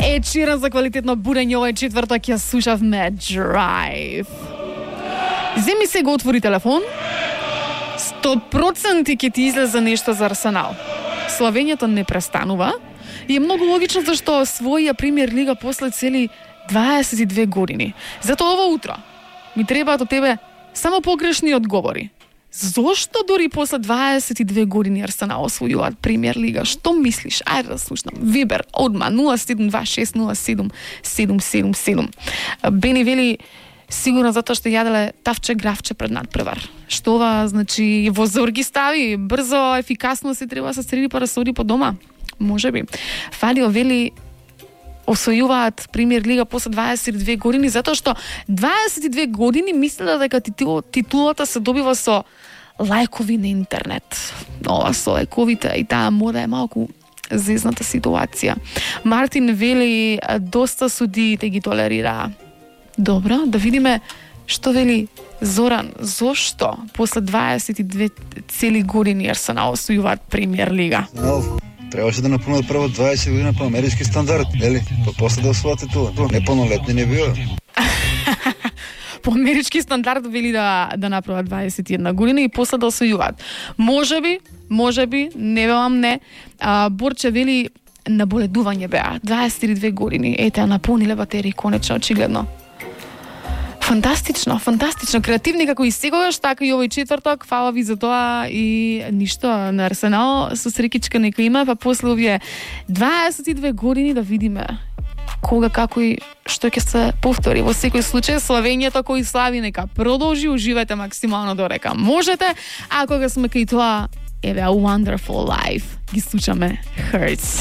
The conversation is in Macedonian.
Ед Ширан за квалитетно будење овој четврток ја слушавме Drive. Земи се го отвори телефон. 100% ќе ти излезе нешто за Арсенал. Славењето не престанува и е многу логично зашто освоија Премиер лига после цели 22 години. Затоа ова утро ми требаат од тебе само погрешни одговори. Зошто дори после 22 години Арсенал освојуваат Премиер лига? Што мислиш? Ајде да слушнам. Вибер, одма 072600777. Бени вели сигурно затоа што јаделе тавче гравче пред надпревар. Што ова значи во зор ги стави, брзо, ефикасно се треба да се среди па да се оди по дома. Можеби. Фадио вели освојуваат Премиер лига после 22 години затоа што 22 години мислела дека титулата се добива со лајкови на интернет. Ова со лајковите и таа мода е малку зезната ситуација. Мартин вели доста судиите ги толерира. Добро, да видиме што вели Зоран. Зошто после 22 цели години Арсенал освојуваат Премиер лига? Требаше да напунат прво 20 година по амерички стандард, нели? Па после да освојате тоа. Непълнолетни не био. По амерички стандард вели да направат 21 година и после да освојуваат. Можеби, не велам не. Борче вели наболедување беа. 22 години. Ете, напуниле батерии конечно, очигледно. Фантастично. Креативни како и секогаш, така и овој четврток. Фала ви за тоа и ништо на Арсенал со срекичка нека има, па после овие 22 години да видиме кога, како и што ќе се повтори. Во секој случај, славењето кој слави нека продолжи, уживајте максимално дорека можете, а кога сме кај тоа, еве, A Wonderful Life, ги слушаме Hurts.